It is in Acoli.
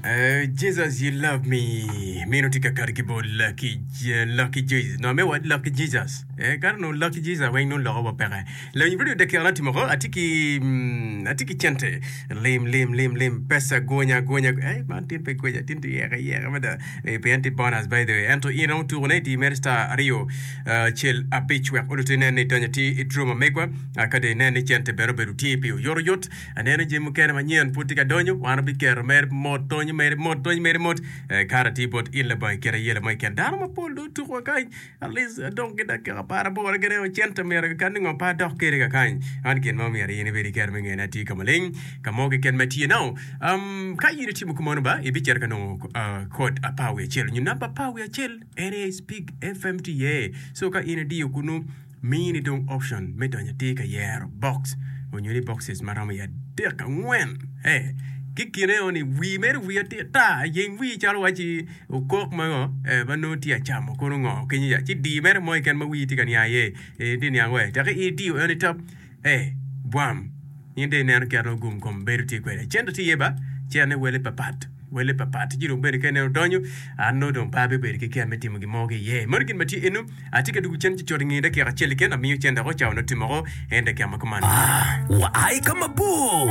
Eh, Jesus you love me meno tye ka kati ki bot Lucky, Lucky Jesus no me what Lucky Jesus eh, kare no Lucky Jesus weng nongo loko wa peke lony radio dakika na timo ko atye ki mm, atye ki cente lim lim lim lim pesa gonya gonya eh, man tin pe gonya tin tye yeke yeke mada eh, pien tye bonus by the way ento in romo tuko ne iti mere star aryo eh, cel abic wek oluti inen ni donyo atir i draw ma megwa ah, ka dong inen ni cente bene obedo tye pi oyotoyot Aneno jami mukene manyen pud tye ka donyo, wan wabiketo mere mot, donyo mere mot, donyo mere mot. Eh, kare tye bot in labongo i kite ayela mo keken. Dano mapol dong otuko wa kany, at least adong ki dakika aparaboro kene o cente myero keken ni ngo pe adok kede kakany. Man gin ma myero in ibed ikero me ngene atir ka maleng ka mo keken ma tye. Now, um, ka in itimo kumeno ba, ibicito ka nongo uh, kod 11 nyo namba 11 en aye Speak FM tye iye. So ka in idiyo kunu, Mini dong option me donyo atir ka yero box onyo ni boxes ma romo i adek angwen eh ki kine o ni wii mere wii atir tar yeng wii calo waci okok ma ngo eh ma nongo tye acamo kono ngo kenyo ya ci dii mere mo keken ma wii tye ka niang iye eh itye niang we teki idiyo eno itop eh bwam. In dong ineno kit ma gum kom bedo tye kwede. Cente tye iye ba, cente wele papat, wele papat. Ci dong bene ka ineno donyo, an nongo dong pe abibedo ki kero me timo gin mo ki iye. Meno gin ma tye eno, atye ka dwogo cen ci cut i nge dakika acel keken, amiyo cente woko, cawa nongo timo woko en dakika ma kuman. Waa i ka mabor.